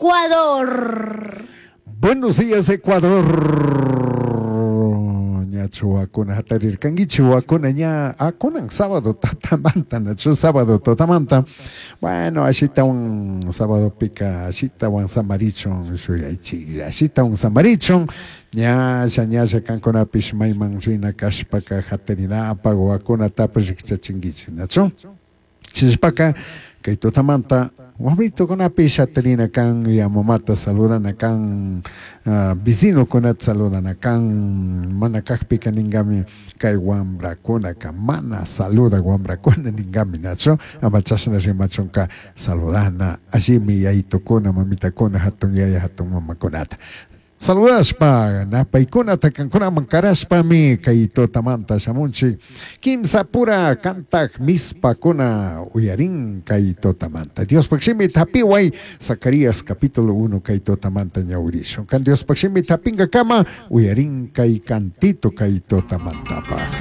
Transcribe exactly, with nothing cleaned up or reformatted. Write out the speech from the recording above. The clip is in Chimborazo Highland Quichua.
Ecuador. Buenos días, Ecuador. Ñachu wawakuna hatarirkankichik wawakuna ña ah, kunan sábado tutamanta nachu sábado tutamanta bueno ashitawan sabadopika ashitawan samarichun shuyaychiklla ashitawan samarichun ñalla ñalla kankunapish mayman rina kashpaka hatarinapak wawakunatapish rikchachinkichik nachu shinashpaka kay tutamanta wamritukunapish hatarina kan ya mamata saludana kan uh, vecinokunata saludana kan mana kakpika ninkami kay wambrakunaka mana saludak wambrakuna ninkami nachu ama chashna rimachunka saludana allimi yayitukuna mamitakuna hatun yaya hatun mamakunata saludashpa napaykunata kankunaman karashpami kay tutamanta shamunchik kimsa pura kantak mispakuna uyarin kay tutamanta Diospaj shimi hapiway Zacarías capítulo uno kay tutamanta ñawirishun kan Diospaj shimi hapinkakama uyarin kay cantito kay tutamantapaj.